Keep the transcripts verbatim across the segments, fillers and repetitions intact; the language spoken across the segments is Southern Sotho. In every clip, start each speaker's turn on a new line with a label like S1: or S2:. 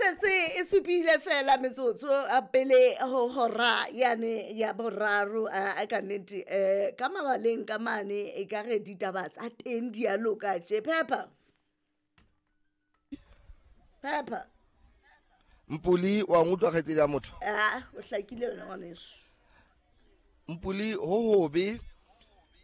S1: setse e supile fela metsotso a pele ho hora yane ya boraro a ka nnete um ka mabaleng ka mane e ka re ditaba tsa teng di a loka tje. Phepha phepha
S2: Mpuli wa ngutlwa kgaitsedi ya motho?
S1: Ah, o hlakile wena ngwaneso.
S2: Mpuli ho hobe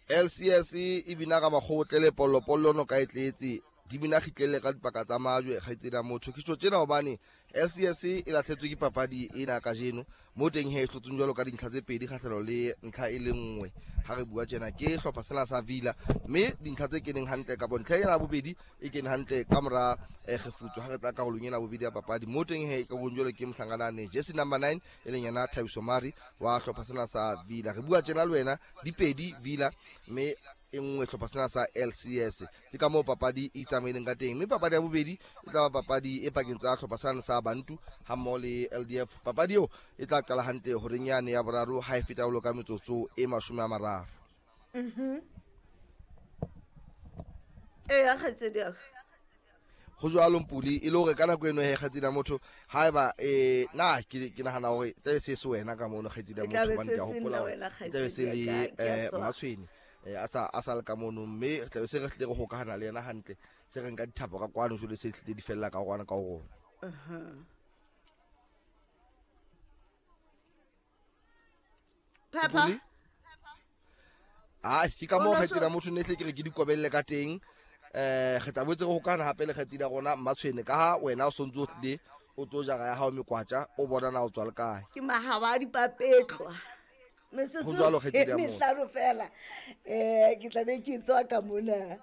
S2: L C S e bina ka makgotle le pollopollo no ka e tletse di bina kgitlele ka dipaka tsa majwe kgaitsedi ya motho. Ke tjho tjena hobane L C S e lahletswe ke papadi ena kajeno mo teng he e hlotsweng jwalo ka dintlha tse pedi kgahlano le ntlha e le nngwe. Ha re bua tjena ke hlopha sena sa Villa mme dintlha tse keneng hantle ka bontlha ena ya bobedi e kene hantle ka mora kgefutso ha re tla karolong ena ya bobedi ya papadi mo teng he ka bong jwalo ke mohlanganane jersey number nine e leng yena Thabiso Mari wa hlopha sena sa Villa. Re bua tjena le wena dipedi Villa mme e nngwe hlopha sena sa L C S. Ke ka moo papadi e tsamaileng ka teng mme papadi ya bobedi e tla ba papadi e pakeng tsa hlopha sena sa Bantu ha mmoho le L D F. Papadi eo e tla qala hantle horeng yane ya boraro ha e feta jwalo ka metsotso e mashome a mararo.
S1: Mhm. Eya kgaitsedi ya ka.
S2: Ho jwalo Mpuli e le hore ka nako eno he kgaitsedi ya motho haeba eh na ke ke nahana hore tlabe se se wena ka mono kgaitsedi ya
S1: E tlabe
S2: motho hobane
S1: se
S2: ke a
S1: se
S2: hopola
S1: nna
S2: hore
S1: wena
S2: e tlabe se
S1: kgaitsedi
S2: le,
S1: ya ka, ke a
S2: eh,
S1: tswa.
S2: Matshwene eh a sa a sa le ka mono mme tlabe se re hlile re hokahana le yena hantle se re nka dithapo ka kwano jwale se hlile di fella ka kwana ka ho rona.
S1: Uh-huh. Papa?
S2: Mpuli? Ah, ke ka moo
S1: Ona
S2: kgaitsedi
S1: so-
S2: ya motho ne hle ke re ke di kobelle ka teng. Eh, re tla boetse re hokahana hape le kgaitsedi ya rona Mmatshwene ka ha wena o sontso o tlile o tlo jara ya hao mekwatja o bona na o tswa le kae.
S1: Ke mahaba a dipapetlwa. Metsotso
S2: Ho jwalo kgaitsedi ya
S1: e
S2: motho.
S1: mehlano fela. Eh, ke tla be ke tswa ka mona.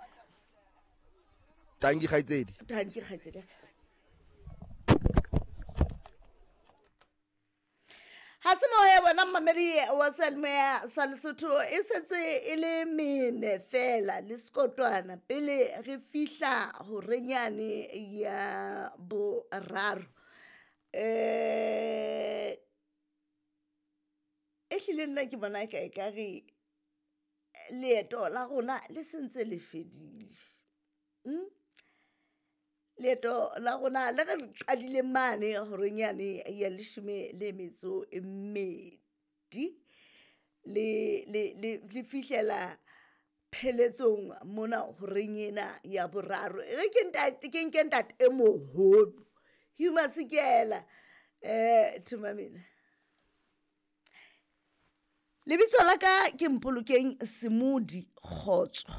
S2: Tanki kgaitsedi.
S1: Tanki kgaitsedi ya ka. Ha se moya bona mmamedi wa Seyalemoya sa Lesotho e setse e le mene fela le sekotwana pele re fihla horeng yane ya boraro. Eh, e hlile nna ke bona ka ekare leeto la rona le sentse le fedile. Mm? Leeto la rona le re qadile mane horeng yane ya leshome le metso e mmedi le, le, le, le fihlela pheletsong mona horeng ena ya boraro. E re ke ntate, ke nke ntate e moholo Hugh Masekela. Eh, thuma mina. Lebitso la ka ke Mpolokeng Semodi Kgotso.